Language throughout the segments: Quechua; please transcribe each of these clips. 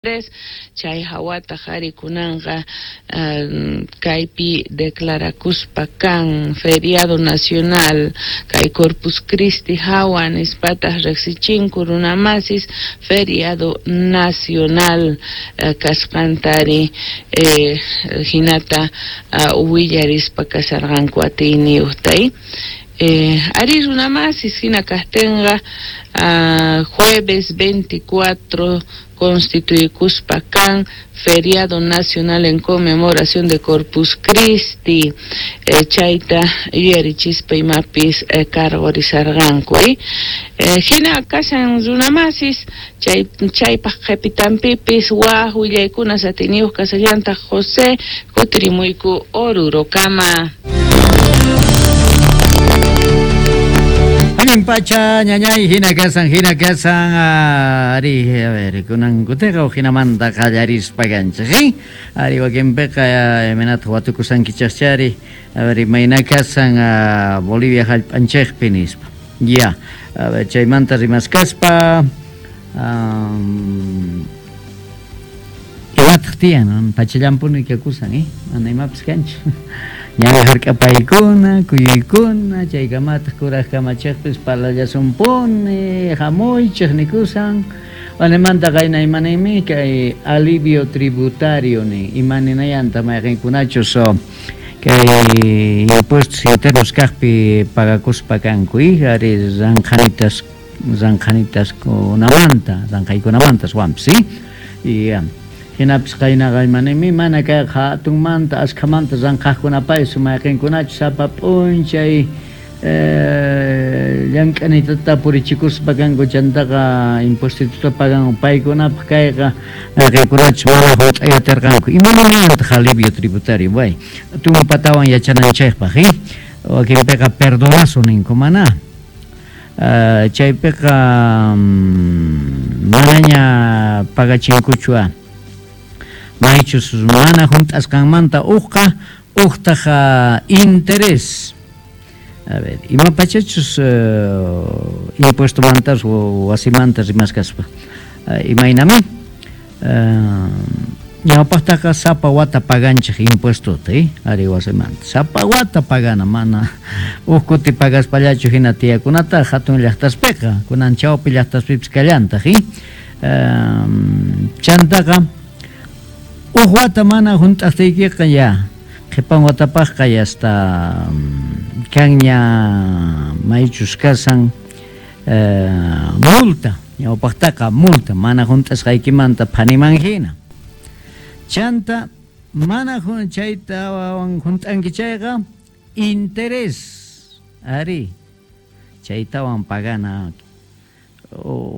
Chay hawataq ari kunanqa kaypi declarakuspa kan feriado nacional kay Corpus Christi hawa nispataq riqsichinku runamasis feriado nacional kasqantari hinata willarispa kasharqanku atiyniyuqta. Ari runamasis hina kaqtinqa jueves 24 constituykuspa kan feriado nacional en conmemoración de Corpus Christi, chayta yuyarichispa imapis cargorizarqanku. Hina kashan runamasis chaypaq qhipitanpipis waj willaykuna satiniyuq kasallantaq José kutirimuyku Orurokama. Allin pacha ñañay hina kasan ari a ver kunan kutiqa hinamanta qallarispa kanchik ari wakinpiqa imaynataq watukusankichaqchari a ver imayna kasan Bolivia hallp'anchikpi nispa ya a ver chaymanta rimaskaspa imataq tiyan pachallampuni kakusan mana imapis kanchu ñawi hark'apaykuna kuyuykuna chaykamataq kuraq kamachiqpis parlallasumpuni hamuychik nikusan wanemanta qayna imaninmi kay alivio tributario nin imaninayanta mayqinkunachus kay impuestos internos kaqpi pagakuspa kanku ari ranqhanitas ranqhanitaskunamanta ranqhaykunamantas wampis y hinapis qaynaqa imanimi mana kay hatunmanta askhamanta ranqhaqkunapaysi mayqinkunachu sapa p'unchay llank'anitata purichikuspa kanku chantaqa impuestituta pagan paykunapaq kayqa mayqinkunachu mana hunt'ay atirqanku imaninayantaq alivio tributario way tumpatawan yachananchikpaq wakinpiqa perdonazo ninku mana chaypiqa manaña pagachinkuchu maychus mana hunt'asqanmanta uqqa uqtaq interés a ver imapachachus impuestomantas wasimanta rimaskaspa imaynami ñawpaqtaqa sapa wata paganchik impuestota ari wasimanta sapa wata pagana mana uq kuti pagaspallachu hina tiyakunata hatun llaqtaspiqa kunan chawpi llaqtaspipis kallantaq chantaqa uq wata mana hunt'aqtiykiqa ya qhipan watapaqqa ya hasta kanña maychus kasan multa ñawpaqtaqa multa mana hunt'asqaykimanta phaniman hina chanta mana chaytawan hunt'anki chayqa interés ari chaytawan pagana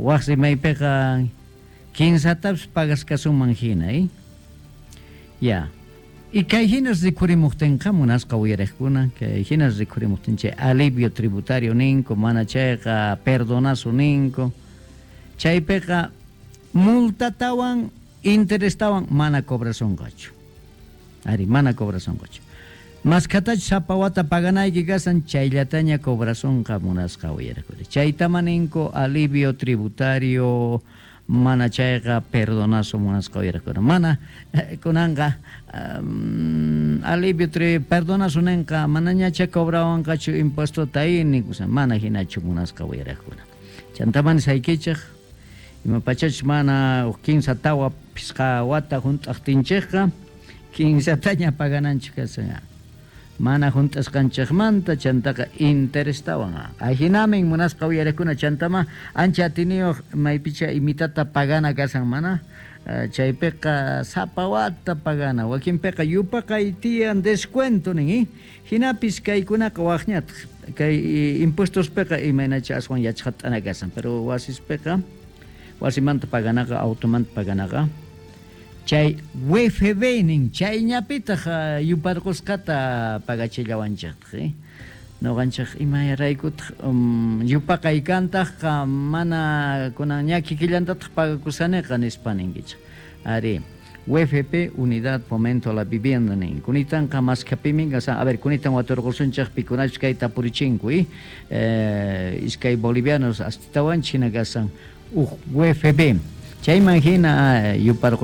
waq rimaypiqa kinsatapis pagaskasuman hina ya y kay hinas rikurimuqtinqa munasqa uyariqkuna kay hinas rikurimuqtin chay alivio tributario ninku mana chayqa perdonazo ninku chaypiqa multatawan interestawan mana cobrasunqachu ari mana cobrasunqachu maskatachu sapa wata paganayki kasan chayllataña cobrasunqa munasqa uyariqkuna chaytama ninku alivio tributario mana chayqa perdonazo munasqa uyariqkuna mana kunanqa alivio perdonazo ninqa manañacha cobrawanqachu impuestota nikusan mana hinachu munasqa uyariqkuna chantaman saykichik imapachachus mana kinsa tawa phisqa wata hunt'aqtinchikqa kinsataña pagananchik kasan mana hunt'asqanchikmanta chantaqa interestawan ahinamin munasqa uyariqkuna chantama ancha atiniyuq maypicha imitata pagana kasan mana chaypiqa sapa wata pagana wakinpiqa yupaqay tiyan descuento nin hinapis kaykunaqa waqñataq kay impuestospiqa imaynacha aswan yachqat'ana kasan pero wasispiqa wasimanta paganaqa automanta paganaqa chay UFB nin chayñapitaq yuparqusqata pagachillawanchiktaq nuqanchik imaraykutaq yupaqay kantaqqa mana kunan ña kikillantataq pagakusaniqa nispa ninkichik ari UFP Unidad Fomento a la Vivienda nin kunitanqa maskapimin kasan a ver kunitan waturqusunchik pikunachus kayta purichinku iskay bolivianos astitawan china kasan uq UFB Chayman hina yuparqu.